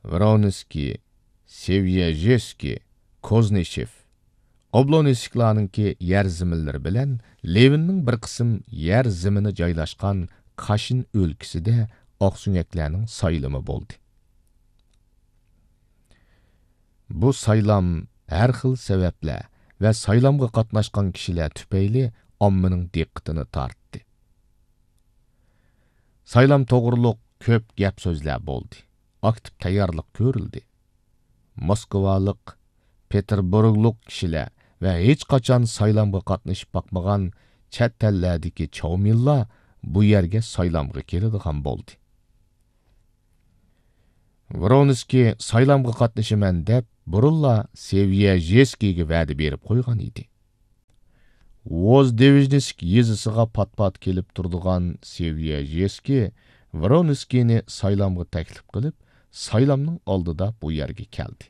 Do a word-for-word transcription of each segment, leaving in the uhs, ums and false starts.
ۋرونسكىي، سېۋيەژېسكىي، كوزنىشېف، ئوبلونسكلارنىڭكى يەر زېمىنلىرى بىلەن لېۋىننىڭ بىر قىسىم يەر زېمىنى جايلاشقان كاشىن ئۆلكىسىدە ئاقسۆڭەكلەرنىڭ سايلىمى بولدى. بۇ سايلام ھەر خىل سەۋەبلەر ۋە سايلامغا قاتناشقان كىشىلەر تۈپەيلى ئاممىنىڭ دىققىتىنى تارتتى. سايلام توغرۇلۇق كۆپ گەپ-سۆزلەر بولدى. ئاكتىپ تەييارلىق كۆرۈلدى. موسكۋالىق، پېتېربۇرگلۇق كىشىلەر ۋە ھېچقاچان سايلامغا قاتنىشىپ باقمىغان چەت ئەللەردىكى چاۋمىنلار بۇ يەرگە سايلامغا كېلىدىغان بولدى. ۋرونسكىي سايلامغا قاتنىشىمەن دەپ، بۇرۇنلا سېۋيەژېسكىيگە ۋەدە بېرىپ قويغان ئىدى. ۋوزدېۋىژنىسك يېزىسىغا پات-پات كېلىپ تۇرىدىغان سېۋيەژېسكىي ۋرونسكىينى سايلامغا تەكلىپ قىلىپ، سايلامنىڭ ئالدىدا بۇ يەرگە كەلدى.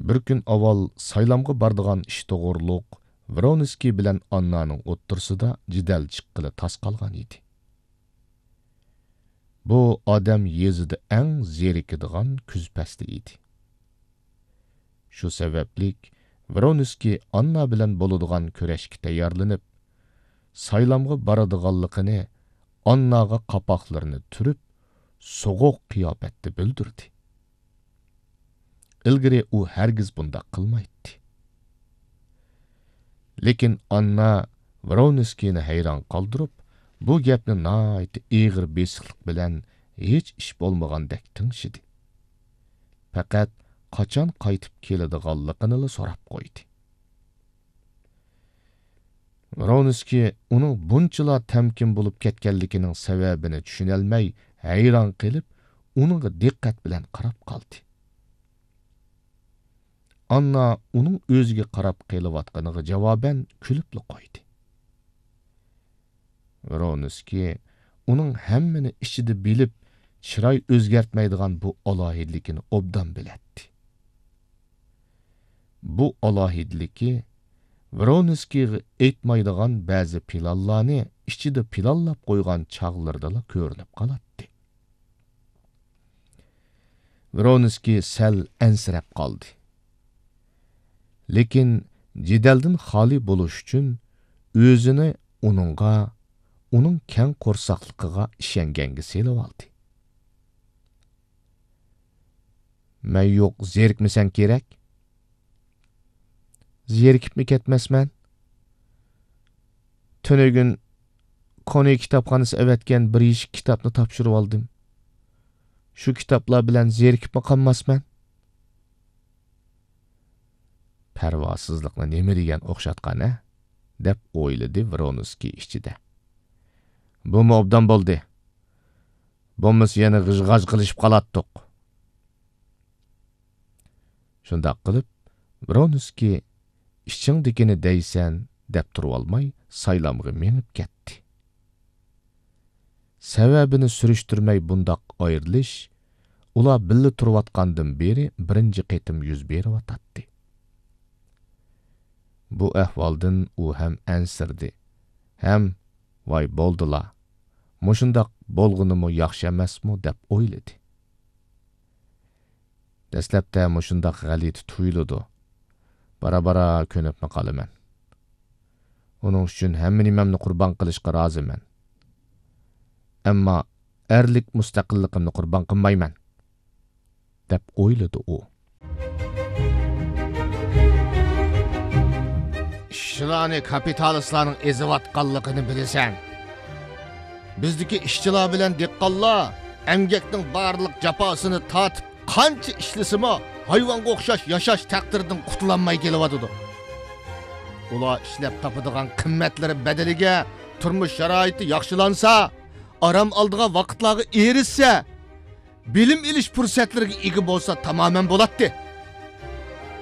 بىر كۈن ئاۋۋال سايلامغا بارىدىغان ئىش توغرۇلۇق ۋرونسكىي بىلەن ئاننانىڭ ئوتتۇرىسىدا جېدەل چىققىلى تاس قالغان ئىدى. بۇ ئادەم يېزىدا ئەڭ زېرىكىدىغان كۈز پەسلى ئىدى. شۇ سەۋەبلىك ۋرونسكىي ئاننا بىلەن بولىدىغان كۈرەشكە تەييارلىنىپ، سايلامغا بارىدىغانلىقىنى ئانناغا قاپاقلىرىنى تۈرۈپ، سوغۇق قىياپەتتە بىلدۈردى. ئىلگىرى ئۇ ھەرگىز بۇنداق قىلمايتتى. لېكىن ئاننا ۋرونسكىينى ھەيران قالدۇرۇپ، بۇ گەپنى ناھايىتى ئېغىر بېسىقلىق بىلەن ھېچ ئىش بولمىغاندەك تىڭشىدى. پەقەت قاچان قايتىپ كېلىدىغانلىقىنىلا سوراپ قويدى. ۋرونسكىي ئۇنىڭ بۇنچىلا تەمكىن بولۇپ كەتكەنلىكىنىڭ سەۋەبىنى چۈشىنەلمەي ھەيران قېلىپ، ئۇنىڭغا دىققەت بىلەن قاراپ قالدى. ئاننا ئۇنىڭ ئۆزىگە قاراپ قېلىۋاتقىنىغا جاۋابەن كۈلۈپلا قويدى. ۋرونسكىي ئۇنىڭ ھەممىنى ئىچىدە بىلىپ، چىراي ئۆزگەرتمەيدىغان بۇ ئالاھىدىلىكىنى ئوبدان بىلەتتى. بۇ ئالاھىدىلىكى ۋرونسكىيغا ئېيتمايدىغان بەزى پىلانلارنى ئىچىدە پىلانلاپ قويغان چاغلىرىدىلا كۆرۈنۈپ قالاتتى. ۋرونسكىي سەل ئەنسىرەپ قالدى. لېكىن جېدەلدىن خالىي بولۇش ئۈچۈن ئۆزىنى ئۇنىڭغا، ئۇنىڭ كەڭ قورساقلىقىغا ئىشەنگەنگە سېلىۋالدى. مەن يوق زېرىكمىسەڭ كېرەك؟ زېرىكىپمۇ كەتمەسمەن. تۈنۈگۈن كونى كىتابخانىسى ئەۋەتكەن بىر يېشىك كىتابنى تاپشۇرۇۋالدىم. شۇ كىتابلار بىلەن زېرىكىپمۇ قالماسمەن. پەرۋاسىزلىقنى نېمە دېگەن ئوخشاتقان ھە؟ دەپ ئويلىدى ۋرونسكىي ئىچىدە. بۇمۇ ئوبدان بولدى. بولمىسا يەنە غىژ-غاژ قىلىشىپ قالاتتۇق. شۇنداق قىلىپ، ۋرونسكىي ئىچىڭدىكىنى دەيسەن دەپ تۇرۇۋالماي سايلامغا مېڭىپ كەتتى. سەۋەبىنى سۈرۈشتۈرمەي بۇنداق ئايرىلىش ئۇلار بىللە تۇرۇۋاتقاندىن بېرى بىرىنچى قېتىم يۈز بېرىۋاتاتتى. بۇ ئەھۋالدىن ئۇ ھەم ئەنسىرىدى، ھەم ۋاي بولدىلا، مۇشۇنداق بولغىنىمۇ ياخشى ئەمەسمۇ دەپ ئويلىدى. دەسلەپتە مۇشۇنداق غەلىتە تۇيۇلىدۇ. بارا-بارا كۆنۈپمۇ قالىمەن. ئۇنىڭ ئۈچۈن ھەممە نېمەمنى قۇربان قىلىشقا رازىمەن. ئەمما ئەرلىك مۇستەقىللىقىمنى قۇربان قىلمايمەن، دەپ ئويلىدى ئۇ. ئىشچىلارنى كاپىتالىستلارنىڭ ئېزىۋاتقانلىقىنى بىلىسەن. بىزدىكى ئىشچىلار بىلەن دېھقانلار ئەمگەكنىڭ بارلىق جاپاسىنى تارتىپ، قانچە ئىشلىسىمۇ، ھايۋانغا ئوخشاش ياشاش تەقدىرىدىن قۇتۇلالماي كېلىۋاتىدۇ. ئۇلار ئىشلەپ تاپىدىغان قىممەتلىرى بەدىلىگە تۇرمۇش شارائىتى ياخشىلانسا، ئارام ئالىدىغان ۋاقىتلارغا ئېرىشسە، بىلىم ئېلىش پۇرسەتلىرىگە ئىگە بولسا تامامەن بولاتتى.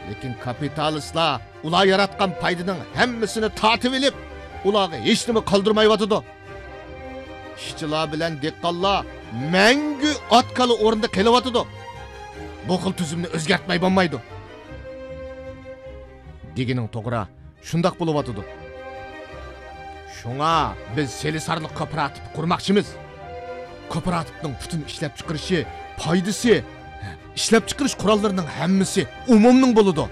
لېكىن كاپىتالىستلار ئۇلار ياراتقان پايدىنىڭ ھەممىسىنى تارتىۋېلىپ، ئۇلارغا ھېچنېمە قالدۇرمايۋاتىدۇ. ئىشچىلار بىلەن دېھقانلار مەڭگۈ ئات-كالا ئورنىدا قېلىۋاتىدۇ. بۇ خىل تۈزۈمنى ئۆزگەرتمەي بولمايدۇ. دېگىنىڭ توغرا، شۇنداق بولۇۋاتىدۇ. شۇڭا بىز سېلىسارلىق كوپىراتىپى قۇرماقچىمىز. كوپىراتىپنىڭ پۈتۈن ئىشلەپچىقىرىشى، پايدىسى، ئىشلەپچىقىرىش قوراللىرىنىڭ ھەممىسى ئومۇمنىڭ بولىدۇ.